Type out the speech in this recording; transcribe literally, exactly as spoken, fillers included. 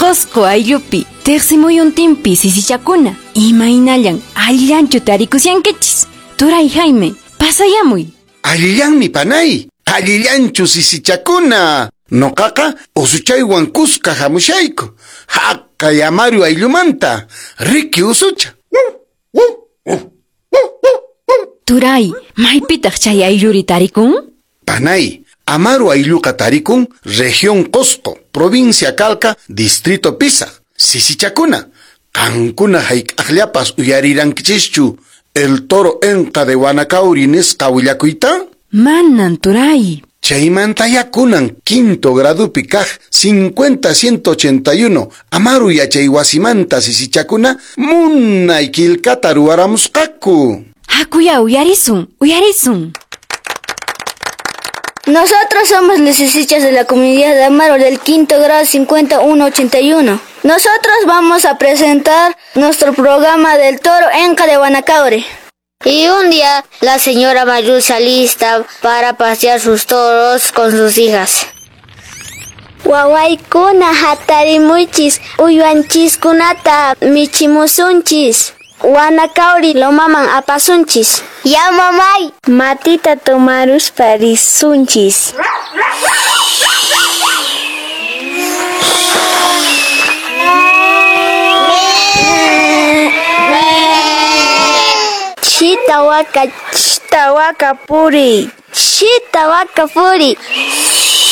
Qosqo ayllupi, tiqsimuyuntinpi sisichakuna, imaynallan allillanchu tarikusyankichis. Turay Jaime, pasayamuy. Allillanmi panay, allillanchu sisichakuna. Noqaqa usuchaywan kuska hamushayku. Haqay Amaru ayllumanta, riki usucha. Turay, maypitaq chay aylluri tarikun? Panay, Amaru aylluqa tarikun, región Cusco, provincia Calca, distrito Pisa. Sisichakuna, qankuna hayk'aqllapas uyarirankichishchu el toro enqa de Huanacauri nisqa willakuyta? Manan, turay. Chaymantaya kunan quinto gradupi kaq cincuenta ciento ochenta y uno Amaru yachay wasimanta sisichakuna munay quillqata ruwaramusqaku. Hakuya uyarisun, uyarisun. Nosotros somos los sisichas de la comunidad de Amaru del quinto grado cincuenta uno ochenta y uno. Nosotros vamos a presentar nuestro programa del toro Enca de Huanacaure. Y un día la señora Mayul se alista para pasear sus toros con sus hijas. Wawaykuna hatarimuchis, uywanchiskunata michimusunchis. Huanacauri lomaman apasunchis. Ya mamay. Matita tomaruspa risunchis. Chita waka, chita waka puri. Chita waka puri.